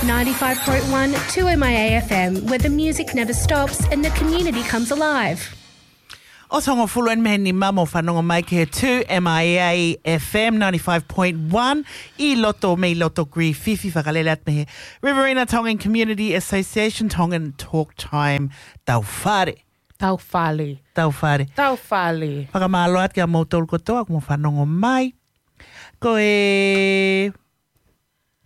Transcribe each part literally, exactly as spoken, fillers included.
ninety-five point one two M I A F M, where the music never stops and the community comes alive. ʻOsi hongofulu eni mei he nima, mou fanongo mai ki he two M I A F M ninety-five point one ʻi loto, mei loto Griffith, fakalele atu mei he Riverina Tongan Community Association, Tongan Talk Time. Tau fale. Tau fale. Tau fale. Tau fale. Fakamālō atu kia moutolu kotoa, ʻoku mou fanongo mai. Ko e,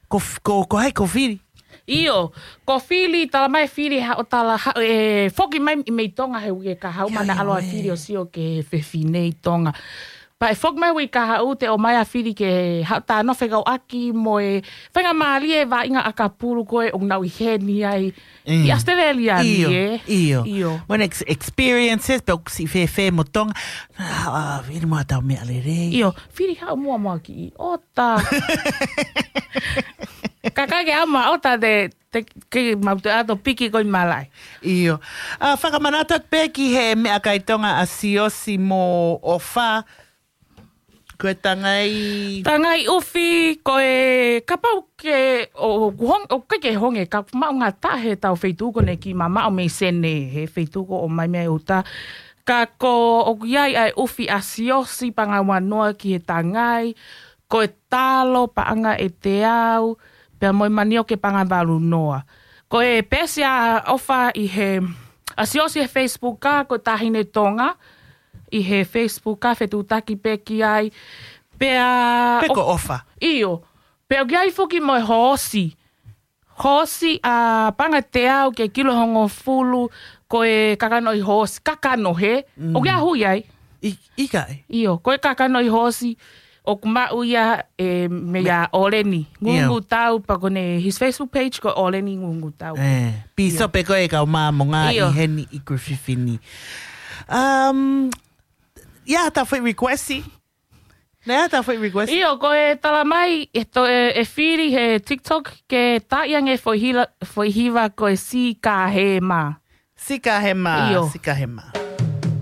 ko, ko, ko hai, ko Fili? ʻIo, ko Fili, tala mai Fili, haʻo tala, haʻo, ʻe foki mai mei Tonga he uike kahaʻu, mana ʻaloa Fili ʻo sio ki he fefine ʻi Tonga. Pea ʻe foki mai uike kahaʻu te ʻomai ʻa Fili ke haʻu ʻo talanoa fekauʻaki mo e faingamālie e vaʻinga ʻakapulu ko ē ʻoku nau ʻi heni ai ʻi ʻAositelēlia ni, ʻio, ʻio. Mo ʻene ex-, experiences, pea ʻoku siʻi fēfē mo Tonga. ʻA, Fili mo ʻetau meʻa lelei. ʻIo, Fili haʻu muʻa mo e kiʻi ʻota. Kakai ke ama ʻota te, te, ke mau te ato piki ko ē malaʻe. ʻIo. ʻA, fakamanatu atu pē ki he meʻakai Tonga ʻa Siosi mo ʻOfa. Ko e tangai. Tangai ʻufi, ko e kapau ke, ʻo, ʻo, ʻoku hong-, ʻoku ʻikai ke honge, ka ʻoku maʻu ngata he tau feituʻu ko eni ki mamaʻo mei Sene, he feituʻu ko ē ʻomai mei ʻuta. Ka ko ʻoku ʻi ai ʻa e ʻufi ʻa Siosi pangauanoa ki he tangai, ko e talo paʻanga ʻe teau, pea mo e manioke paʻanga valu noa. Ko e peesi ʻa ʻOfa ʻi he, ʻa Siosi he Facebook ka, ko Taʻahine Tonga, ʻi he Facebook ka fetuʻutaki pē ki ai. Pea Pe ʻo-, ko ʻOfa. ʻIo. Pea ʻoku ʻi ai foki mo e hoosi. Hoosi ʻa paʻanga teau ki he kilo hongofulu, ko e kakano ʻi hoosi, kakano he. Mm. ʻOku ʻi ai hui ai? ʻI-, ʻikai. ʻIo, ko e kakano ʻi hoosi, ʻoku maʻu ia ʻe, mei a ʻOleni. ʻIo. Ngungutau, pea ko ʻene, his Facebook page ko ʻOleni Ngungutau. ʻE, pīsope ko ē kau Māmonga ʻi heni ʻi Griffith ni. Um, ia, ta fai request. Nea ta fai request. ʻIo, ko e tala mai, ʻe to-, ʻe, ʻe Fili he TikTok, ke taaʻi ange foʻi hila-, foʻi hiva ko e Sika Hema. Sika Hema, ʻio. Sika Hema.